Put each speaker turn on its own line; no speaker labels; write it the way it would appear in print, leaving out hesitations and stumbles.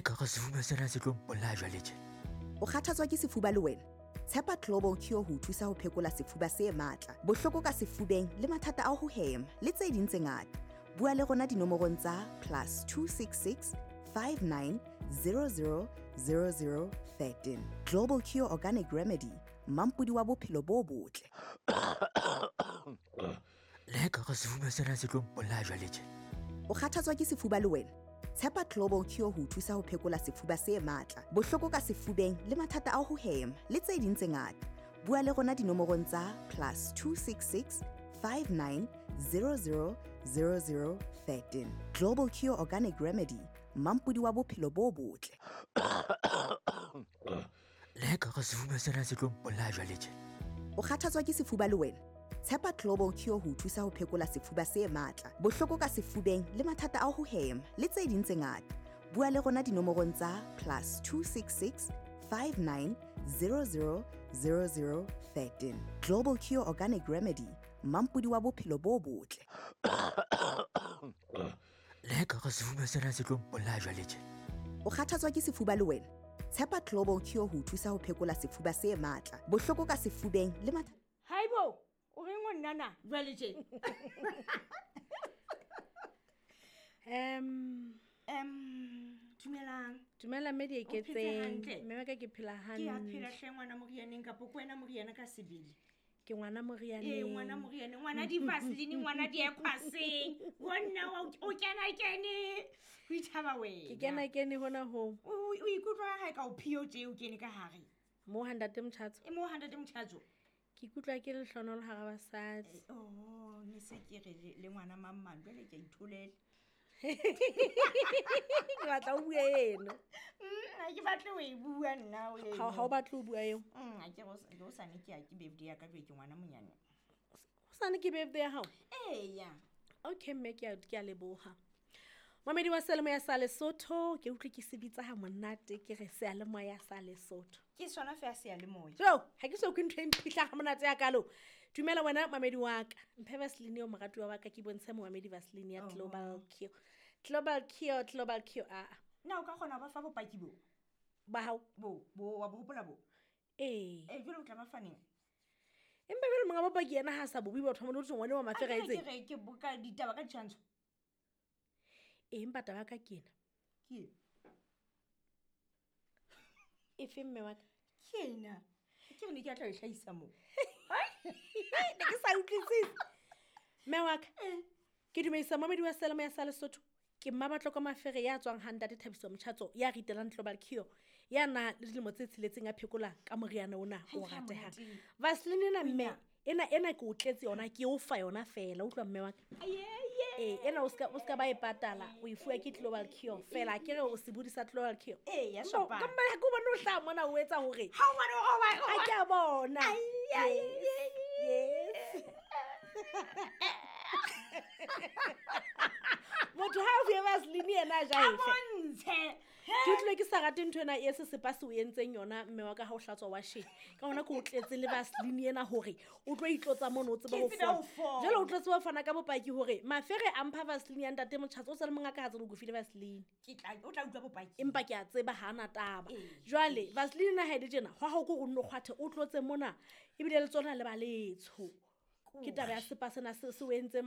ka re sefuba sena se tlo mpolaya jwale tje.
O kgathatswa ke sefuba le wena? Tshepa Global Cure ho o thusa ho phekola sefuba se matla, bohloko ka sefubeng le mathata a ho hema le tse ding tse ngata. Bua le rona dinomorong tsa +266 59 00 00 13. Global Cure Organic Remedy, mampodi wa bophelo bo botle.
Le ka re sefuba sena se tlo mpolaya jwale tje.
O kgathatswa ke sefuba le wena? Tshepa Global Cure ho o thusa ho phekola sefuba se matla, bohloko ka sefubeng le mathata a ho hema le tse ding tse ngata. Bua le rona dinomorong tsa +266 59 00 00 13. Global Cure Organic Remedy, mampodi wa bophelo bo botle.
Le ka re sefuba sena se tlo mpolaya jwale tje.
O kgathatswa ke sefuba le wena? Tshepa Global Cure ho o thusa ho phekola sefuba se matla, bohloko ka sefubeng le mathata a ho hema le tse ding tse ngata. Bua le rona dinomorong tsa +266 59 00 00 13. Global Cure Organic Remedy, mampodi wa bophelo bo botle.
Le ka re sefuba sena se tlo mpolaya jwale tje.
O kgathatswa ke sefuba le wena? Tshepa Global Cure ho o thusa ho phekola sefuba se matla, bohloko ka sefubeng le mathata.
Haibo, o reng o nna na jwale tje? Dumelang.
Dumela mme di
O phetse
eketseng.
hantle?
Mme wa ka ke phela
Ke a phela
hantle.
hle ngwana morianeng kapo ke wena moriana ka sebele?
Ke ngwana morianeng.
Ee, ngwana morianeng, ngwana di-vaseline, ngwana di-aquaseng. Bonna o kena kene. Ho ithaba wena.
Ke kena kene hona ho.
O ikutlwa ha e ka o phio tje o kene ka hare.
Mo ha ntate Motjhatso.
E mo ha ntate Motjhatso.
Ke ikutlwa ke lehlonolo hara basadi.
Oh, ne se ke re le ngwana mang mang jwale ke a itholela.
Ke batla o bue eno.
Ha ke batle ho e bua nna o eno.
Ha o batle ho bua eo.
Ha ke re o sane ke ya ke birthday ya ka jwale ke ngwana monyane.
O sane ke birthday ya hao?
Eya.
Okay mme ke a leboha. Mamedi wa Seyalemoya sa Lesotho, ke utlwe ke se bitsa ha monate ke re Seyalemoya sa Lesotho.
Ke sona feela seyalemoya.
Jo, ha ke so utlwe ntho e mphihlang ha monate ya kalo. Dumela wena mamedi wa ka. Mphe Vaseline eo moratuwa wa ka ke bontshe momamedi Vaseline ya Global Cure. Global Cure, Global Cure, a a.
Na o ka kgona ho ba fa bopaki bo?
Ba hao?
Bo, bo, wa bo hopola bo?
Ee.
Ee, jwale o tla ba fa neng?
Empa jwale monga bopaki yena ha sa bo bue batho ba mo le ngwane wa mafera
A ke re
etseng.
ke re ke boka ditaba ka ditshwantsho.
Ee, empa taba ya ka ke ena.
Ke ena.
Efe mme wa ka?
Ke ena. Ke re ne ke a tla e hlahisa moo.
Ne ke sa utlwisise. Mme wa ka, ke dumedisa momedi wa Seyalemoya sa Lesotho. Ke Mmabatloko Mafere ya tswang ha ntate Thabiso Motjhatso ya ritelang Global Cure ya na le dilemo tse tsheletseng a phekola ka moriana ona o
Ha
ratehang.
monate.
Vaseline ena mme, ena ke o tletse yona, ke o fa yona fela, utlwa mme wa ka.
Aye,
Ee, ena o ska ba e patala, o e fuwa ke Global Cure fela, ke re o sebodi sa Global Cure.
Ee, ya
Empa
shopang.
ka mma ha ke o bone o hlaha mona o etsa hore
Ha o bone hore o ba-
Ha ke a bona.
Ai, ai,
Yes, yes. Motho ha o fuwe Vaseline yena a ja
A
efe.
bontshe.
Ke utlwile ke sa rate ntho ena e sesepa se o entseng yona mme wa ka ha o hlatswa washeng. Ka hona ke o tletse le Vaseline ena hore o tlo itlotsa mono o tsebe
Ke
ho
tsebe ho
fola.
fola.
Jwale o tlo tseba ho fana ka bopaki hore Mafere a mpha Vaseline ya ntate Motjhatso o sa le mongaka ha tsebe o file Vaseline.
Ke tla, o tla utlwa bopaki.
Empa ke a tseba ha ana taba.
Ee.
Jwale Vaseline ena ha e le tjena, hwa hao ke hore o nno kgwathe o tlotse mona ebile le tsona le ba letsho. Ke taba ya sepa sena se o entseng